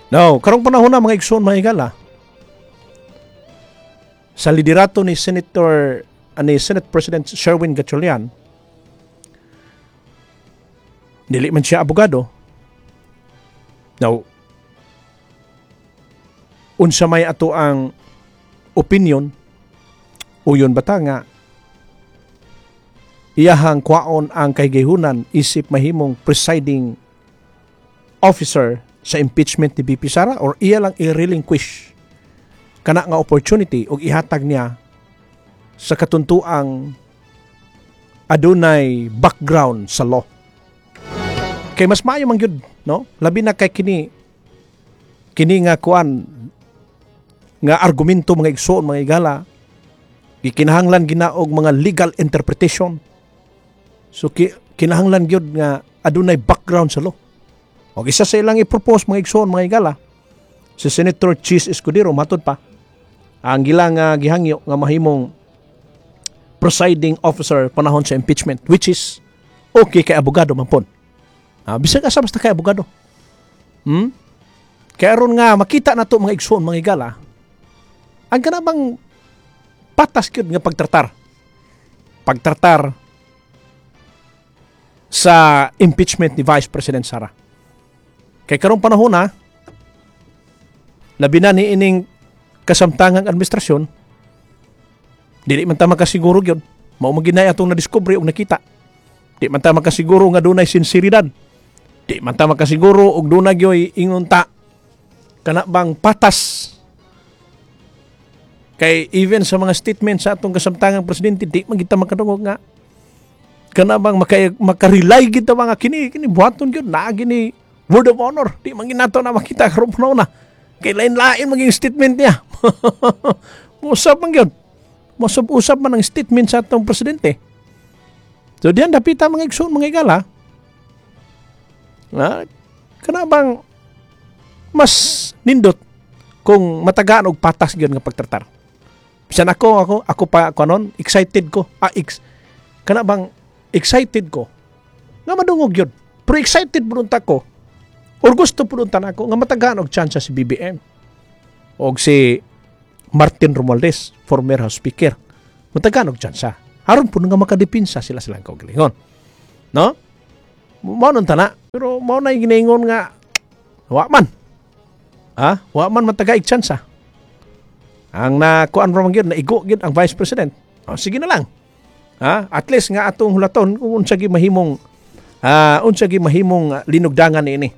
Now, karong panahon na, mga igsoon, mga higala, sa liderato ni Senator ni Senate President Sherwin Gatchalian, dili man siya abogado. Now, unsa may ato ang opinion, uyon bata nga iyahang kwaon ang kahigayonan isip mahimong presiding officer sa impeachment ni VP Sara or iya lang i-relinquish kana nga opportunity og ihatag niya sa katuntuang adunay background sa law? Kay mas maayo man gyud, no, labi na kay kini kini nga kuan nga argumento, mga igsoon, mga igala, gikinahanglan gina og mga legal interpretation. So kinahanglan gyud nga adunay background sa law. Og isa sa ilang i-propose, mga igsoon, mga igala, si Senator Chiz Escudero. Matod pa ang gilang nga gihangyo nga mahimong presiding officer panahon sa impeachment, which is okay kay abogado man pon. Bisag asa, basta kay abogado. Kaya aron nga makita na to, mga igsoon, mga igala, ang kana bang patas gyud nga pagtratar sa impeachment ni Vice President Sara. Kay karong panahon na, labi na ni ining kasamtangang administrasyon, dili man ta makasiguro gyud. Mao man ginay atong nadiskubre og nakita. Di man ta makasiguro nga dunay sinseridad. Di man ta makasiguro og dunay gyoy ingon ta kana bang patas. Kay even sa mga statement sa atong kasamtangang presidente, di man kita makadungog nga kana bang maka-rely kita mga kini kini buhaton gyud naa gini word of honor. Di man ginato na makita karon panahon na. Kay lain-lain maging statement niya. Usap man gyud. Usap-usap man ang statement sa atong presidente. So diyan dapita, mga igsoon, mga igala. Na kana bang mas nindot kung matagaan og patas gyud nga pagtratar. Bisan ako pa ako anon, excited ko. Kana bang excited ko nga madungog gyud. Pero excited pud unta ko or gusto pud unta nako nga matagaan og chance si BBM og si Martin Romualdez, former House Speaker. Matagaan og chance. Aron pud nga makadepinsa sila silang kaugalingon. No? Mao nun tana. Pero mao na yung ginaingon nga wa man. Ha? Wa man matagaig chance. Ang nakuan ra man gyud, naigo gyud ang Vice President. O, sige na lang. Ha? At least nga atong hulaton kung unsa gi mahimong linugdangan niini.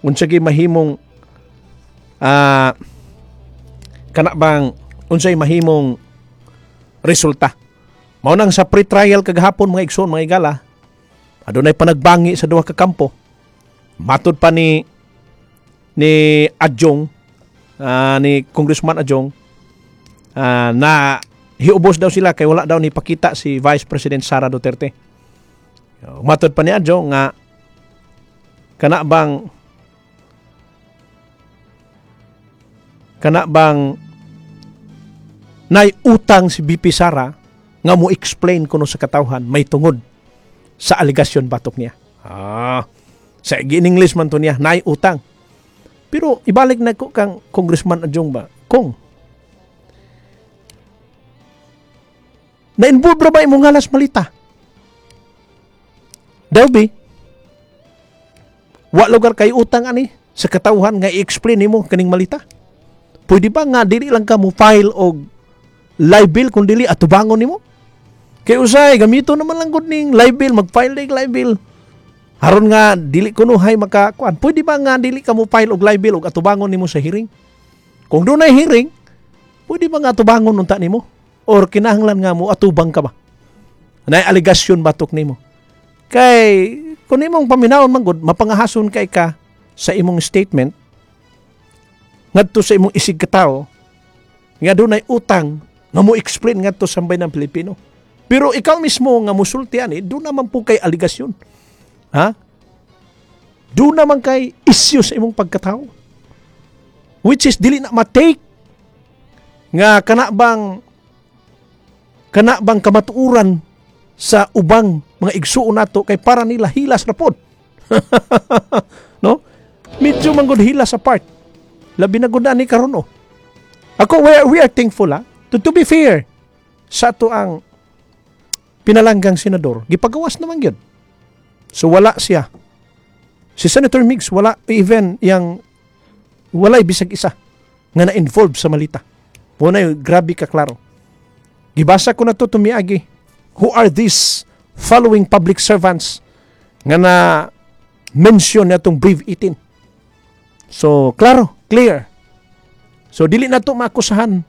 Unsa gi mahimong kana bang unsay mahimong resulta. Mao nang sa pre-trial kagahapon, mga igsoon, mga igala, adunay panagbangi sa duha ka kampo. Matod pa ni Adiong, ni Congressman Adiong, na hiubos daw sila kay wala daw ni pakita si Vice President Sara Duterte. Matod pa ni Adiong nga kana bang nay utang si VP Sara nga mo explain kuno sa katawhan may tungod sa alegasyon batok niya. Sa in English man to niya, nay utang. Pero ibalik na ko kang Congressman Adiong ba, kung na-involve ra ba imong ngalas malita? Daw bi, wa lugar kay utang ani sa katawhan nga i-explain nimo kaning malita? Pwede ba nga dili lang ka mo file og libel kung dili atubangon nimo? Kay usay gamito naman lang gud ning libel, mag-file og libel. Aron nga dili kunuhay makakuan. Pwede ba nga dili ka mo file og libel og atubangon nimo sa hearing? Kung dunay hearing, pwede ba nga atubangon unta nimo? Or kinahanglan nga mo atubang ka ba? Nay alegasyon batok nimo. Kay kung imong paminawon man gud, mapangahason kay ka sa imong statement ngadto sa imong isig katawo nga dunay utang nga mo explain ngadto sa sambayanang Pilipino. Pero ikaw mismo nga musulti ani, doon naman po kay aligasyon. Ha? Doon naman kay issue sa imong pagkatao. Which is dili na ma-take nga kana bang kamatuoran sa ubang mga igsuon nato kay para nila hilas ra pod. No? Medyo man gud hilas sa part. Labi na gud ni karon, oh. Ako, we are thankful, ha. To be fair sa ato ang pinalanggang senador, gipagawas naman gyud. So wala siya. Si Senator Migz, wala even yang walay bisag isa nga na-involve sa malita. Wala, grabe ka klaro. Gibasa ko na to tumiagi. Who are these following public servants nga na mention na itong Brief 18? So, klaro, clear. So, dili na to maakusahan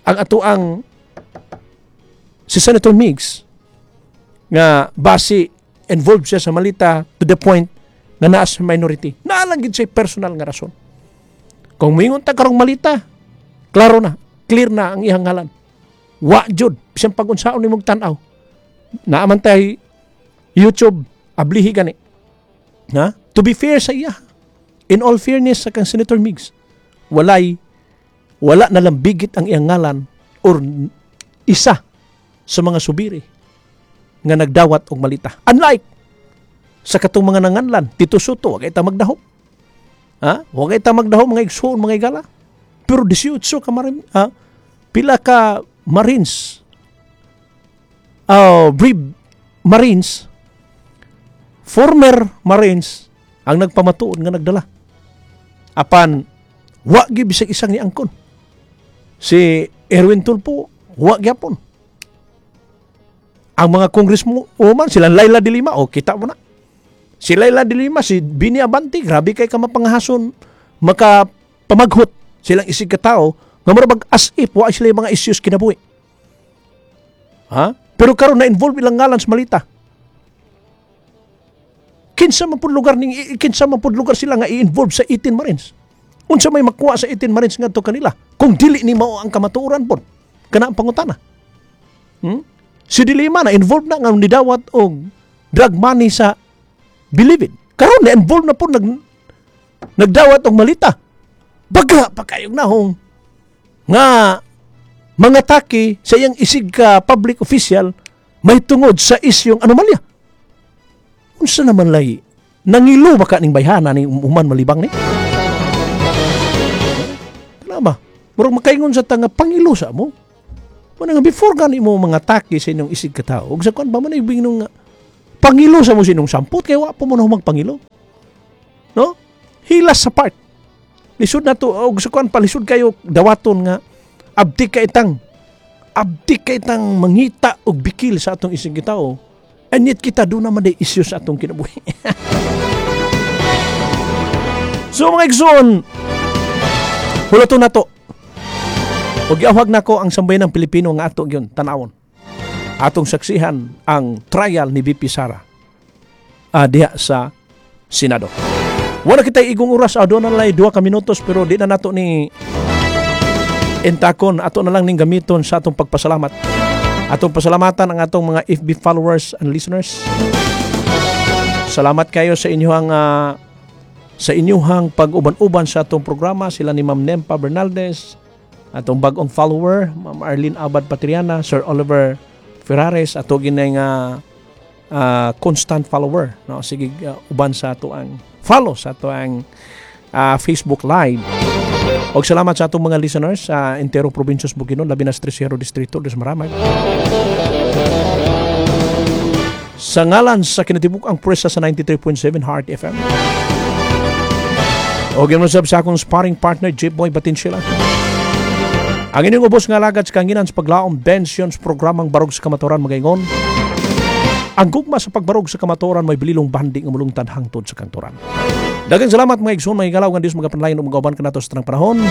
ang ato ang si Senator Migz nga basi involved siya sa malita to the point nga naa sa minority. Naa lang gid siya personal nga rason. Kung moingon ta karong malita, klaro na, clear na ang iyang ngalan. Wa jud bisan pag-unsaon nimong tan-aw. Naa man tay YouTube, ablihi gani. Ha? To be fair sa iya. In all fairness sa kang Senator Migz, wala na lambigit ang iyang ngalan or isa sa mga subiri nga nagdawat og malita. Unlike sa katong mga nanganlan, Tito Sotto, wa kay ta magdahom. Ha? Wa kay ta magdahom, mga igsoon, mga igala. Pero 18 ka marin, ha? Pila ka Marines, oh, brave Marines, former Marines, ang nagpamatuod nga nagdala. Apan, wa gyud bisag isang ni angkon. Si Erwin Tulfo, wa gyapon. Ang mga congresswoman, sila Leila de Lima, oh, kita mo na. Si Leila de Lima, si Bini Abante, grabe kay ka mapangahason, maka pamaghot silang isig ka tao, nga murag as if wa sila yung mga issues kinabuhi. Ha? Pero karon na-involve ilang ngalan sa malita. Kinsa man pud lugar sila nga i-involve sa 18 Marines? Unsa may makuha sa 18 Marines ngadto kanila? Kung dili ni mao ang kamatuoran pod. Kana ang pangutana. Si De Lima na involved na nga nidawat og drug money sa Bilibid. Karon na involved na po nagdawat og malita. Baga pa kayong nahong nga mga taki sa iyang isig ka public official may tungod sa isyong anomalya. Unsa naman lay nangilo ba ka ning bayhana ni human malibang ni? Kana ba? Murag makaingon sa tanga pangilo sa mo. Muna nga before gani mo mga taki sa inyong isig ka tao, ug sa kuan ba man ibig nung pangilo sa mo sa inyong sampot kay wa pa mo na magpangilo. No? Hilas sa part. Lisod na to og sa kuan pa, lisod kayo dawaton nga abtik ka itang mangita og bikil sa atong isig tao. And yet kita do naman day isyu sa atong kinabuhi. So mga igsoon, hulaton na to. Ug giawhag nako ang sambayanang Pilipino nga ato gyud tanawon. Atong saksihan ang trial ni VP Sara diha sa Senado. Wala kita igong oras, doon na lang 2 ka minutos, pero di na nato ni intakon, ato na lang ning gamiton sa atong pagpasalamat. Atong pasalamatan ang atong mga FB followers and listeners. Salamat kayo sa inyong pag-uban-uban sa atong programa, sila ni Ma'am Nempa Bernaldez, atong bagong follower, Ma'am Arlene Abad Patriana, Sir Oliver Ferrares, ato ginay nga constant follower, no? Sige, uban sa ato ang follow sa ato ang Facebook Live. Og salamat sa atong mga listeners sa enterong probinsya sa Bukidnon, labi na sa Tercero Distrito des Maramag. Sa ngalan sa kinatibuk ang presa sa 93.7 Heart FM. O ganoon sab sa akong sparring partner, Jeep Boy Batinsila. Ang inyong ubos nga alagad sa kanginan sa paglaom bensions programang Barog sa Kamatuoran magaingon. Ang gugma sa pagbarog sa kamatuoran may bililong bandi nga mulungtad hangtod sa kanturan. Daghang salamat, mga igsoon, mga higalaw, nga Dios magapanlayon ug magauban kanato sa tanang panahon.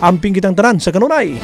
Amping kitang tanan sa kanunay.